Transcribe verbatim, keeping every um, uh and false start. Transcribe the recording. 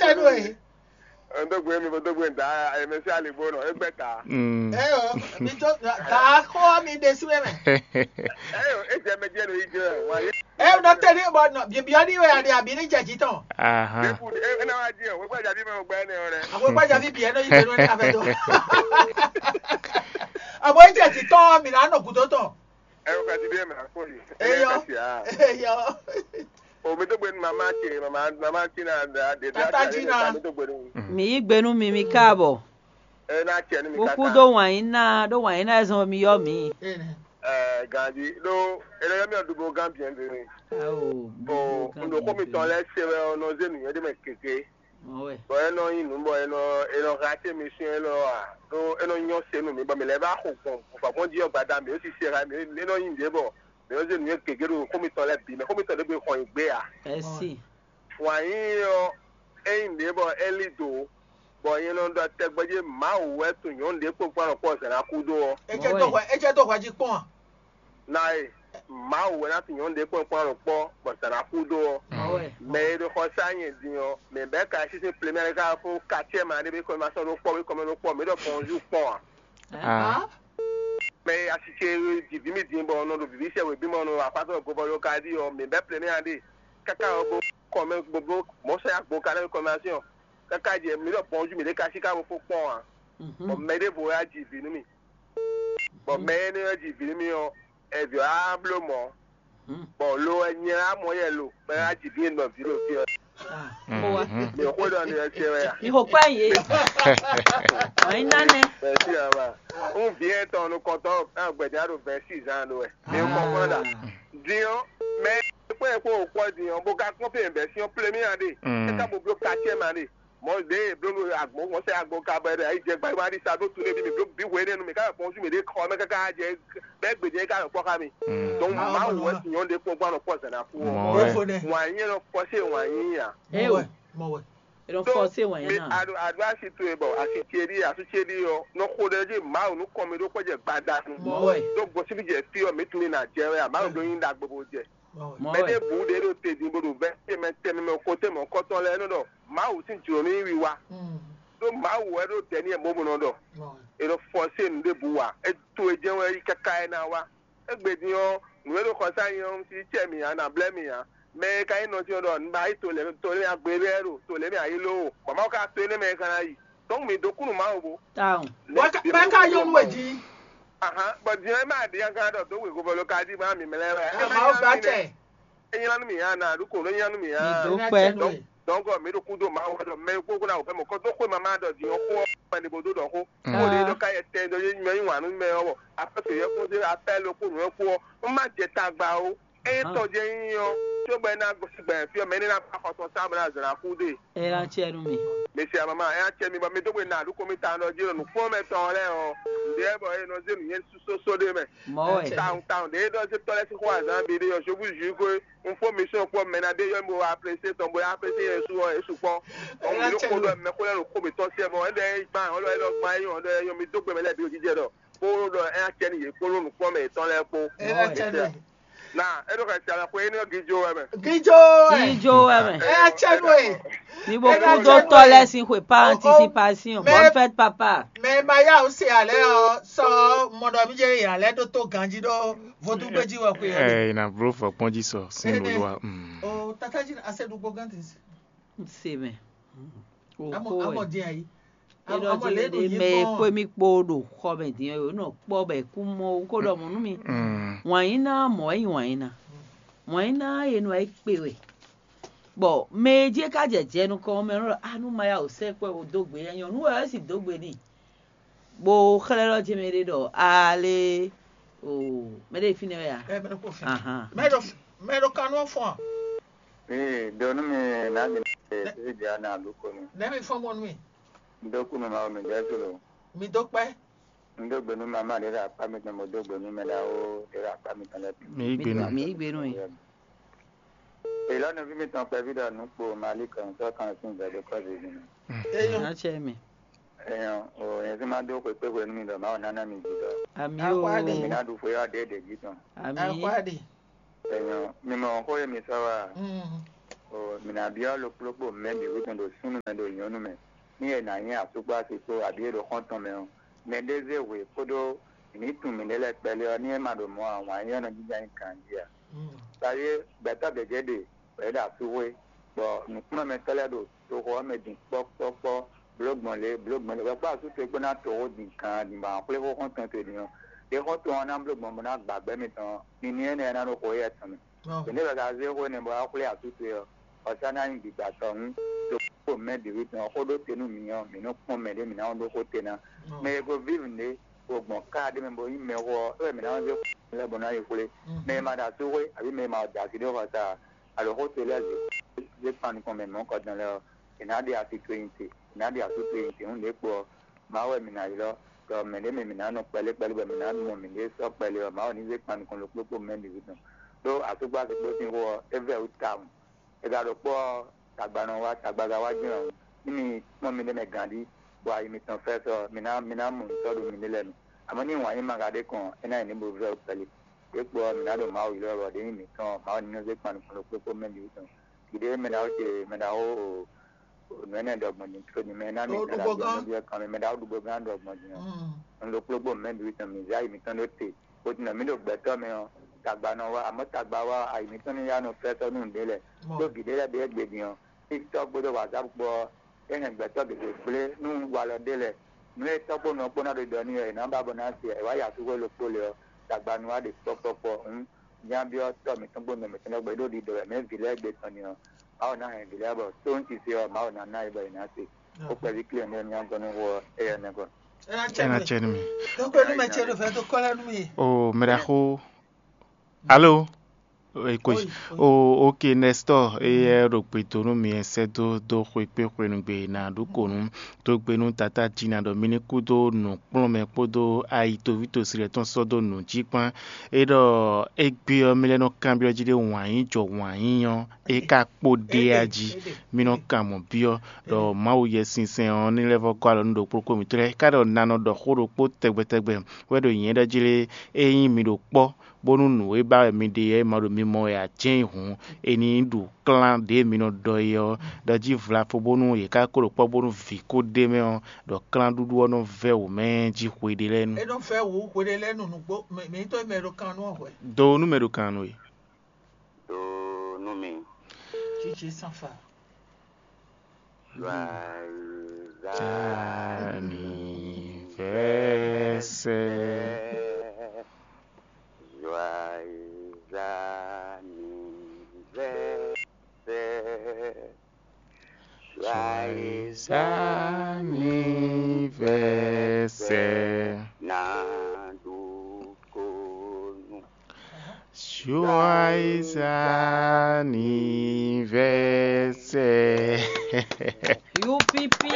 Tɛnu e. Ndógbe mi bo dógbe da, ɛmɛ sí aligbó nɔ égbɛ ta. Mm. Eyo, mi tó da xɔ mi ɖe sí wɛ mɛ. Eyo, e jɛ mɛ jɛ no yi jɛ wa ye. E nɔ tɛ ní bɔ nɔ bibiɔ ní wɛ adi abi ní jɛ jí tɔn. Aha. Eku e na wa di o, wegba jabi mɛ wegba ne o rɛ. Àwọn ìpàdé àbí bìí ẹnu yìí tẹnu ní abẹ tó. Àwọn ìjẹ ti tọ́ mi náà nọ kú tó tọ̀. Ẹ o ka ti bí ẹ mẹ akpọ yìí. Eyọ. Eyọ. O mi tó gbé ní mama ti mama mama ti na da de da. Tata Jina. Mi tó gbé ní. Mi yí gbénú mi mi káàbọ̀. Ẹ náà tiẹ̀ ní mi kaka. Kúkú dó wànyí ná dó wànyí ná ẹ̀sán mi yọ mí. Ẹ gàdí ló ẹ lọ yọ mí ọdún bó gán bìẹ́ bìẹ́. Bɔn nǔɖokpó mitɔn lɛ́ɛ se wɛ ɔ́ nɔ zé nǔnywɛ́ ɖé mɛ gěgé. Bɔn é nɔ nyí nǔ bɔ é nɔ é nɔ hɛn acé mi sín é nɔ a ɖó é nɔ nyɔ́ se nú mǐ bɔ mǐ lɛ́ vá xo gbɔn vɔ̌gbɔn jí ɔ́ gbada mǐ ó sisɛ hɛn mǐ é nɔ nyí nǔɖé bɔ mǐ ó zé nǔnywɛ́ gěgé ɖo xó mitɔn lɛ́ɛ bǐ mɛ xó mitɔn ɖé gbe xɔ nyi gbé ǎ. Ɛ́sí. Wǎn yíyí ɔ́, é nyí nǔɖé bɔ é lí dǒ, bɔ nyɛ nɔ ɖɔ tɛgbɛ jí Mawu wɛ tunwun nyɔ̌nu ɖě kpokpɔ́ alɔkpɔ́ zǎn ná kú dó ɔ́. É jẹ́ dó hwɛ é jẹ́ dó hwɛ jí kpɔ́n a? Ná e, Mawu wɛ ná tunwun nyɔ̌nu ɖě kpokpɔ́ alɔkpɔ́ bɔ zǎn ná kú dó ɔ́. Mɛ e ɖo xɔ sá nyɛ din ɔ́, mɛ bɛ́ ka sísí plémɛ ká fó kacɛ́ ma ɖé bí kɔmɛ ma sɔ́ ɖó kpɔ́ bí kɔmɛ ɖó kpɔ́, mǐ ɖɔ bɔnjú kpɔ́n a? Ah. Mɛ e asi ce jǐví mì din bɔ nɔ ɖo vǐví sɛ wěbímɔ nɔ apátɔ govɔ ló ka ɖi ɔ́, mǐ bɛ́ plémɛ a ɖe káká ɔ́ bó kɔmɛ bó mɔ̌ sɔ́ yá gbo ka lɛ́ kɔmɛ asi ɔ́. Káká jɛ mǐ ɖɔ bɔnjú mǐ ɖé ka sí ká bo fó kpɔ́n ǎ. Bɔ mɛ ɖěvo wɛ wá ji vǐ nú mì. Bɔ mɛ énɛ́ wɛ ji vǐ nú mì ɔ́, ɛvǐ ɔ́ á bló mɔ̌. Bɔ lo wɛ nyɛ á mɔ yɛ lo, bɔ é wá ji vǐ nɔ vǐ ɖo fí ɔ́. Mǐ xwé ɖɔ ni ɔ́ ce wɛ a? Mǐ xo kpá yě. Wǎn yí ná nɛ́. Bɛ̌si ǎ ma. Ń vǐ ɛtɔn nukɔntɔn gbɛ̌dá ɖo bɛ̌si zán ɖó wɛ. Mǐ mɔ kpɔ́n ɖa. Din ɔ́, mɛ kpɔ́n yɛ kpó wò kpɔ́ din ɔ́, bó ka kpɔ́n fí bɛ̌si ɔ́ plé mì ǎ ɖe. É ka bo bló kacɛ́ ma ɖe. Mɔ̌ ɖě e bló nú agbo mɔ̌ sɛ agbo ka bɔ è ɖo ayǐ jɛ gbadé ma ɖi sa ɖó tu nú mi bló bǐ hwe énɛ́ nu mǐ ká yɔ fɔ́n sú mǐ ɖě xɔ mɛ káká jɛ bɛ́ gbějɛ ká yɔ kpɔ́ xá mi. Donc Mawu wɛ nyɔ̌nu ɖě kpɔ́n gbɔn anɔ kpɔ́ zǎn ná kú ɔ́. Wǎn nyí nɔ fɔ́sé wǎn nyí a? Ewɔ. Mɔ wɛ. È nɔ fɔ́sé wǎn nyí ná. Àdó àdó asi towe bɔ asi ce ɖi asú ce ɖi ɔ́ nɔ xo ɖe jí Mawu nú kɔn mi ɖó kpɔ́ jɛ gbadanu. Mɔ wɛ. Ɖó gosín jɛ fí ɔ́ mǐ tunwun ní ná jɛ wɛ a Mawu ɖó nyí ɖagbe bó jɛ. Mɛ ɖěbǔ ɖě ɖo te din bó ɖo vɛ̌ tɛnmɛ tɛnmɛ mɛ xo tɛnmɛ xɔtɔn lɛ́ɛ nɔ ɖɔ Mawu sín jlǒ ní wiwa. Ɖó Mawu wɛ ɖo dɛ̌ n'i wɛ mɔ̌ bó nɔ ɖɔ è nɔ fɔsé nǔ ɖěbǔ wa. É to e jɛ́n wɛ é yí káká é ná wá. Égbé din ɔ́, nǔ e ɖo xɔsá nyi ɔ́, un sí cɛ mì ǎ, nǎ blɛ́ mì ǎ. Mɛ e ka nyí nɔ dín ɔ́ ɖɔ un ba yí to lě to lě agbe lɛ́ɛ ɖo to lě mɛ ayí lóo, bɔ Mawu ka to énɛ́ mɛ e ka ná yi. Tɔ́n mǐ dó kú nú Mawu bó. Tawun. Bɔ é ka nyɔ́ nú we jí. Ahan, bɔ din ɔ́, é má ɖi kankan ɖɔ dó wěgovɔ ló ka ɖi má mǐ mɛ lɛ́ɛ wɛ. Mawu gba cɛ. É nylá nú mì ǎ, nǎ ɖu kǒ nú é nylá nú mì ǎ. Mi dó pẹ́. Dɔ̌nkɔ mǐ ɖo kúdó Mawu wɛ ɖɔ mɛ e kpó kó ná wǔ fɛ́ mɔ̌ kɔ́ dó xwé mamá ɖɔ din ɔ́ xó ɔ́ wɛ ní bó dó ɖɔ xó. Xó ɖě nɔ ká yɛ tɛn ɖɔ yé nyɔ yí wǎn nú mɛ ɔ́, wɔ afɛ́ fě yɛ́ kpó dé afɛ́ lo kpó nǔ ɔ́ kpó ɔ́, un má jɛ tagba ó. Ényí tɔn jɛ nyí ɔ́, cóbɔ é ná gosín gbɛ̌ fí ɔ́, mɛ énɛ́ ná ba xɔ tɔn sá bɔ ná zlǎn xú ɖe. É ná acɛ nú mi. Mesi amama, é acɛ mi bɔ mi dó gbe na àdúgbò mi ta ɖɔ jí ɖo nǔkplɔ́nmɛ tɔn lɛ́ɛ ɔ́, nǔɖé bɔ é nɔ zé nǔnyɛ sósó ɖé mɛ. Mɔ̌ wɛ. Tawun tawun ɖě é ɖɔ zé tɔ́ lɛ́ɛ sín xó azǎn bi ɖé ɔ́, jobu jǔ ko un fó mission kpɔ́ mɛ ná ɖé yɔ mi bo wá apprécier tɔn bo yá apprécier yɛ su ɔ́, é sukpɔ́. Ɔn mi ɖó xó ɖɔ mɛ xó lɛ́ɛ ɖo xó mǐtɔn sɛ mɔ, é ɖɔ é gbán, ɔ́ ɖɔ é ɖɔ gbán é nyɔ, ɔ́ ɖɔ é nyɔ, mi dó gbe mɛ lɛ́ɛ bǐ ɖo jijɛ ɖɔ kó ɖɔ é acɛ nú yě kpó ɖó nǔkplɔ́nmɛ yětɔn lɛ́ɛ kpó. É ná acɛ nú yě. Na é ɖo xɛsi alɔ xwe énɛ́ ɔ́ gíjo wɛ mɛ. Gíjo wɛ. Gíjo wɛ mɛ. É acɛ nú e. Ní bó kú dó tɔ́ lɛ́ɛ sín xwe pa anticipation. Bonne fête papa. Mɛ ma yá o se alɛ ɔ sɔ mɔdɔ mi jɛ yà lɛ ɖó tó ganji ɖó vodúgbéjì wɛ xwe ɔ. Ɛ na blo fɔ kpɔnji sɔ sin lolua. O tata ji ase ɖugbo gán ti. Se mɛ. Amɔ amɔ dín ayi. É ɖɔ jí mɛ e kpé mì kpó ɖo xɔ mɛ din ɔ́, nɔ kpɔ́ bɔ è kú mɔ wú kó ɖɔ mɔ̌ nú mì. Wǎn yí ná mɔ̌ wɛ nyí wǎn yí ná. Wǎn yí ná e nɔ é kpe wɛ. Bɔ mɛ e jí é ka jɛ jɛ nukɔn ɔ́, mɛ nɔ ɖɔ a nú ma ya wǒ sɛ́ kpɛ́ wǒ dó gbe nyɔ̌nu wɛ é sì dó gbe n'i. Bó xlɛ́ ɖɔ jí mɛ ɖé ɖɔ ale o mɛ ɖé fínɛ́ wɛ a? Ahan. Mɛ ɖo mɛ ɖo kanú ɔ́ fɔ́n a? Ee, ɖo nú mi nǎ mi nɔ se sísí ɖě a nǎ ɖu ko nú. Nɛ̌ mi fɔ́n gbɔn nú mi? Un dó kú nú Mawu mi ɖɛɛ tló. Mi dó kpɛ́. Un dó gbe nú mama ɖě ɖo akpá mitɔn, bó dó gbe nú mɛ ɖaxó ɖě ɖo akpá mitɔn lɛ́ɛ bǐ. Mi yí gbe nú. Mi yí gbe nú yɛ. Èlɔ́ nɔví mitɔn kpɛví ɖɔ nǔ kpo Mali kɔn sɔ́ kan sín gbɛ̌ dó kɔ́ zǐzí mɛ. Eyɔn. Acɛ mi. Eyɔn, o yɛn sí má dó xwekpé hwenu mi ɖɔ Mawu ná ná mi jǐ ɖɔ. Ami o. Mi ná ɖu xwe ɔ́ ɖě ɖě jí tɔn. Ami. Eyɔn, mi mɔ xó e mi sɔ́ wa. Mǐ ná byɔ́ lokplókpo mɛ bǐ wútu ɖo súnnu mɛ ɖo nyɔ̌nu mɛ, ní è nǎ nyí asúkpási kpó abǐ e ɖo xɔ́ntɔn mɛ ɔ́, mɛ ɖé zé hwe kpódó mǐ ní tunwun mǐɖée lɛ́ɛ kpɛlé ɔ́, ní é ma ɖo mɔ̌ ǎ, wǎn yíyí ɔ́ nɔ jínjɔ́n ayǐ ganjí ǎ. Taɖé gbɛ̌tɔ́ gěgé ɖe bɔ yě ɖo asú xwé, bɔ nǔkplɔ́nmɛtɔ́ lɛ́ɛ ɖo toxo ɔ́ mɛ din kpɔ́kpɔ́kpɔ́, blǒ gbɔn lě, blǒ gbɔn lě, bɔ kpó asú towe kpó ná toxo din kan din bɔ a xwlé xó xɔ́ntɔn towe din ɔ́, ɖě xɔ́ntɔn ɔ́ ná bló gbɔn bó ná gbǎ gbɛ́ mitɔn, nini énɛ́ ná ɖo xo éyɛ́ tɔn mɛ. Ɔ́, Bɔ nɛ̌ wɛ ka zé xó énɛ́ bɔ wá xwlé asú towe ɔ́, ɔ̌ sá ná nyí gbǐgbá tɔn hǔn, ɖo xó mɛ bǐ wú tɔn xó ɖó te nú mǐ ɔ́, mǐ nɔ kpɔ́n mɛ ɖé mǐ ná ɖó xó te ná. Mɛ e ko vívi ɖé ko gbɔn ká ɖé mɛ bo nyí mɛxó ɔ́, é wɛ mǐ ná zé xó lɛ́ɛ bɔ ná yi xwlé. Mɛ e ma ɖo asú xwé abǐ mɛ e ma da asi ɖó xɔsa alo xó te lɛ́ɛ zé zé kpan nukɔn mɛ mɔ̌ kɔdɔn lɛ́ɛ ɔ́, è nǎ ɖe asi towe nyi te, è nǎ ɖe asú towe nyi te hǔn ɖě kpo ɔ́, Mawu wɛ mǐ ná ylɔ́, ɖɔ mɛ̌ ɖé mɛ mǐ ná nɔ kpɛlé kpɛlé bɔ mǐ ná mɔ mǐɖée sɔ́ kpɛlé ɔ́, Mawu ní zé kpan nukɔn ɖokpó kpó mɛ bǐ tɔn. Ɖó asúkpási kpó sín xó ɔ́, é vɛ́ wú tawun. È ka ɖo kpɔ́ ɔ́, tagba nɔ wá, tagba ka wá jɛ́n ɔ́, ní mi kpɔ́n miɖée mɛ ganjí, bɔ ayi mitɔn fɛ́ sɔ, mi ná mi ná mɔ nǔ sɔ́ ɖo miɖée lɛ́ɛ mɛ. Amɔ̌ ní wǎn yí ma ka ɖé kɔn, é ná nyí nǔ bo vɛ́ wú kpɛlé. Ɖě kpo ɔ́, mǐ ná ɖo Mawu ylɔ́ bɔ ɖě nyí mǐtɔn ɔ́, Mawu ní nɔ zé kpan nukɔn ɖokpó kpó mɛ bǐ tɔn. Gǐɖé mɛ ɖaxó ce, mɛ ɖaxó nǔ énɛ́ ɖɔgbɔn din tló din mɛ ná mi Ó ɖó gbɔn gán. Ɖɔgbɔn gán mɛ ɖaxó ɖugbó gán ɖɔgbɔn din ɔ́. Un ɖo kplógbó mɛ bǐ tɔn mǐ zé ayi mǐtɔn ɖó te. Bó ti nɔ mǐ ɖo gbɛtɔ́ mɛ ɔ́, tagba nɔ wá, amɔ̌ tagba wá ayi mǐtɔn ní yá nɔ fɛ́ sɔ́ nú nǔɖé lɛ́ɛ. Ɖó vǐ ɖé lɛ́ɛ ɖě gbe din ɔ́, fí tɔ́ gbódó wǎzábu kpó ɔ́, é hɛn gbɛtɔ́ gěgé gblé nú walɔ ɖé lɛ́ɛ. Nǔ e tɔ́ kpó nɔ kpó ná ɖo ɖɔ n'i ɔ́, è nǎ ba bɔ ná se ɛ wá yi asúxwé ɖokpó lě ɔ́, tagba nɔ wá ɖe kpɔ́kpɔ́kpɔ́. Hǔn, nya byɔ́ tɔ́ mǐtɔn kpó nɔ mǐtɔn lɛ́ɛ gbé ɖó ɖiɖɔ wɛ mɛ vǐ lɛ́ɛ gbe tɔn ni ɔ́, Mawu ná hɛn vǐ lɛ́ɛ bɔ tó ŋutise ɔ́, Mawu ná ná yě bɔ yě ná se. Ó kpɛví klé nú émí gɔ́ nú xó ɔ́, éyɛ́ nɛ́ gɔ́. É ná cɛ É ná nú mi. Cɛ nú mi. Tó kpé nú mɛ ce ɖo fɛ́ tó kɔ́ lɛ́ nú mi. O mɛɖaxó. Alo. Eko. Oyi, oyi. O, ok, Nestor, eyɛ ɖo gbe dó nú mi sɛ́ dó dó xwe kpé xwenu gbe ná ɖu kǒ nú dó gbe nú Tatá Jina ɖɔ mi ní kú dó nǔkplɔ́nmɛ kpódó ayi toví tosi lɛ́ɛ tɔn sɔ́ dó nǔ jí kpán. É ɖɔ égbé ɔ́, mi lɛ́ nɔ kanbyɔ́ jí ɖé wǎn yí jɔ wǎn yí ɔ́, é ka kpó ɖé a jí. Mi nɔ kan mɔ̌ byɔ́ ɖɔ Mawu Yɛsinsɛn ɔ́ ní lɛ́ vɔ́ gɔ́ alɔ nú ɖokpó ɖokpó mǐtɔn lɛ́ɛ, é ka ɖɔ na nɔ ɖɔ xó ɖokpó tɛgbɛ tɛgbɛ wɛ ɖo nyɛ̌ ɖɔ jí lé, ényí mi ɖo kpɔ́ bónú nǔ e ba wɛ mi ɖe ɔ́, è ma ɖo mi mɔ wɛ ǎ, jɛ́n yi hǔn, è ní ɖu klán ɖě mi nɔ ɖɔ é ɔ́ ɖɔ jí vlafo bónú yě ká ko ɖo kpɔ́ bónú vǐ ko ɖ'é mɛ ɔ́, ɖɔ klánɖúɖú ɔ́ nɔ vɛ́ wǒ mɛ jí hweɖé lɛ́ɛ nu. É nɔ vɛ́ wǔ hweɖé lɛ́ɛ nu nǔgbó, mɛ mǐtɔn e mɛ ɖo kan nú ɔ́ hwɛ. Do nú mɛ ɖo kan nú we. Do nú mi. Jiji sanfa. Joyeux anniversaire. Joyeux anniversaire. Joyeux anniversaire. Naɖu konu. Joyeux anniversaire. Youpipi.